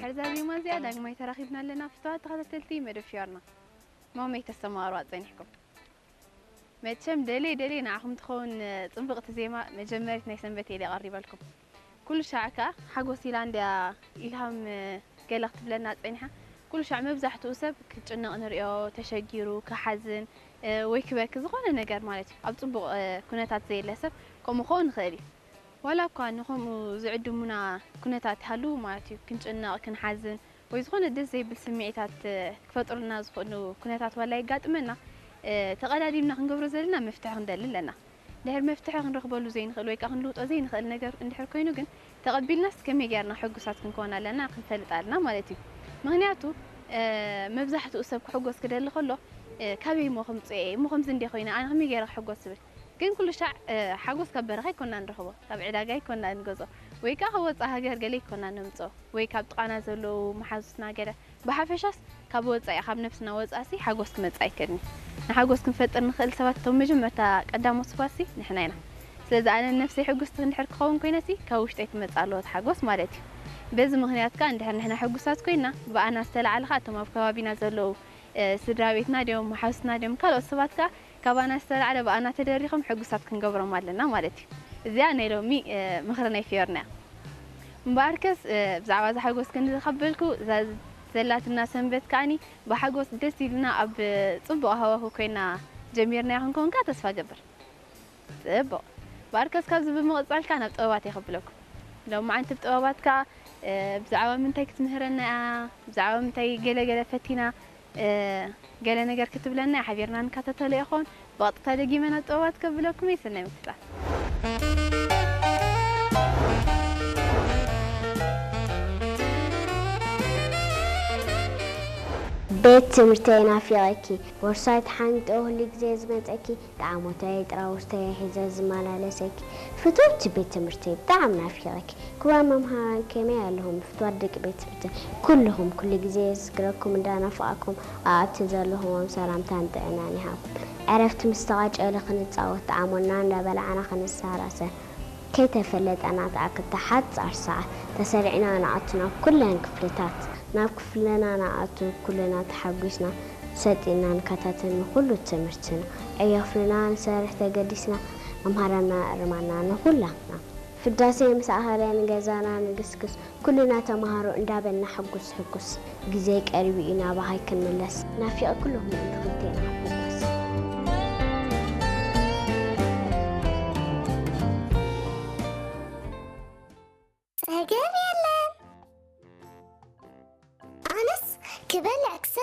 ድሕርዛ ዜማ እዚኣ ዳግማይ ተራኺብና ኣለና። ፍትዋት ተኸታተልቲ መደብ ፊዮርና፣ ማመይ ተሰማሩ ኣጸኒሕኩም። መቸም ደለይ ደለይ ንዓኹም ትኸውን ጽብቕቲ ዜማ መጀመሪት ናይ ሰንበት እየ ቀሪበልኩም። ኩሉ ሻዕ ከኣ ሓጎስ ኢላ እንድያ ኢልሃም ገለ ክትብለና ጸኒሓ። ኩሉ ሻዕ መብዛሕትኡ ሰብ ክጭነቕ ንርእዮ፣ ተሸጊሩ፣ ክሓዝን ወይ ክበኪ ዝኾነ ነገር ማለት እዩ። ኣብ ጽቡቕ ኩነታት ዘየለ ሰብ ከምኡ ክኸውን ይኽእል እዩ። ዋላ እኳ ንኸምኡ ዝዕድሙና ኩነታት ይሃልዉ ማለት እዩ፣ ክንጭነቕ፣ ክንሓዝን ወይ ዝኾነ ደስ ዘይብል ስምዒታት ክፈጥሩልና ዝኽእሉ ኩነታት ዋላ የጋጥመና፣ ተቐዳዲምና ክንገብሮ ዘለና መፍትሒ ክንደሊ ኣለና። ድሕር መፍትሒ ክንረኽበሉ ዘይንኽእል ወይ ከዓ ክንልውጦ ዘይንኽእል ነገር እንድሕር ኮይኑ ግን ተቐቢልናስ ከመይ ጌርና ሕጉሳት ክንከውን ኣለና ክንፈልጥ ኣለና ማለት እዩ። ምኽንያቱ መብዛሕትኡ ሰብ ክሕጎስ ክደሊ ከሎ ካበይ እሞ ከምፅኦ እየ እሞ ከምዚ እንደ ኮይነ ኣነ ከመይ ገይረ ክሕጎስ ዝብል ግን ኩሉ ሻዕ ሓጎስ ካብ በረኻ ይኮና ንረኽቦ ካብ ዕዳጋ ይኮና ንገዝኦ ወይ ከዓ ካብ ወፃእ ሃገር ገለ ይኮና ነምፅኦ ወይ ካብ ጥቓና ዘለዉ መሓዙትና ገለ ብሓፈሻስ ካብ ወፃኢ ካብ ነፍስና ወፃእሲ ሓጎስ ክመፅእ ኣይክእልን እዩ። ንሓጎስ ክንፈጥር ንኽእል ሰባት እቶም መጀመርታ ቀዳሞት ስባሲ ንሕና ኢና። ስለዚ ኣነ ነፍሰይ ሕጉስቲ እንድሕር ክኸውን ኮይነሲ ካብ ውሽጠይ ክመፅእ ኣለዎ እቲ ሓጎስ ማለት እዩ። በዚ ምኽንያት ከዓ እንድሕር ንሕና ሕጉሳት ኮይና ብኣና ዝተላዕለ ከዓ እቶም ኣብ ከባቢና ዘለዉ ስድራ ቤትና ድዮም መሓዙትና ድዮም ካልኦት ሰባት ከዓ ካባና ዝተላዕለ ብኣና ተደሪኾም ሕጉሳት ክንገብሮም ኣለና ማለት እዩ። እዚኣ ናይ ሎሚ ምኽሪ ናይ ፊዮርና እያ። እምበኣርከስ ብዛዕባ እዚ ሓጎስ ክንዲ ዝኸበልኩ እዛ ዘላትና ሰንበት ከዓኒ ብሓጎስ ደስ ኢልና ኣብ ፅቡቕ ሃዋሁ ኮይና ጀሚርናያ ክንከውን ከዓ ተስፋ ገብር። ፅቡቕ ባርከስ ካብዚ ብምቕፃል ከዓ ናብ ጥበባት የኸብለኩም። ሎማዓንቲ ብጥበባት ከዓ ብዛዕባ ምንታይ ክትምህረና እያ ብዛዕባ ምንታይ ገለገለ ፈቲና ገለ ነገር ክትብለና ሓቢርና ንከታተሎ ይኾን። ብቐጥታ ደጊመ ናብ ጥበባት ከብለኩም እየ። ሰናይ ምክትታል። ቤት ትምህርተይ ናፊቐኪ፣ ቦርሳይ ተሓንጊጠ ኩሉ ግዜ ዝመፀኪ፣ ጣዕሞተይ ጥራውዝተይ ሒዘ ዝመላለሰኪ፣ ፍትውቲ ቤት ትምህርተይ ብጣዕሚ ናፊቐኪ። ክቡራት መምሃራን ከመይ ኣለኹም? ፍትዋት ደቂ ቤት ትምህርተይ ኩልኹም ኩሉ ግዜ የዝክረኩም እንዳናፈቐኩም ኣብ ኣብቲ ዘለኹዎም ሰላምታን ጥዕናን ይሃብኩም። ዕረፍቲ ምስ ተቋጨለ ክንጻወት ጣዕሞና እንዳበላዕና ክንሳራሰ ከይተፈለጠና ትኣክል ሓጻር ሰዓት ተሰሪዕና ንኣቱ ናብ ኩለን ክፍልታት። ናብ ክፍልና ንኣቱ ኩልና ተሓጒስና ሰጢና ንከታተል ንኹሉ ትምህርትና። ዕዮ ክፍልና ንሰርሕ ተገዲስና መምሃራንና እርማና ንኹላትና። ፍዳሴ ምስ ኣኸለ ንገዛና ንግስግስ ኩልና ተምሃሮ እንዳበልና ሕጉስ ሕጉስ ግዜ ቀሪቡ እዩ ናባኻ ኣይክንምለስ ናፊቐ ኩልኹም ምእንቲ ክልቴና ሕጉስ። ጸገም የለን ኣነስ ክበልዕ ክሰ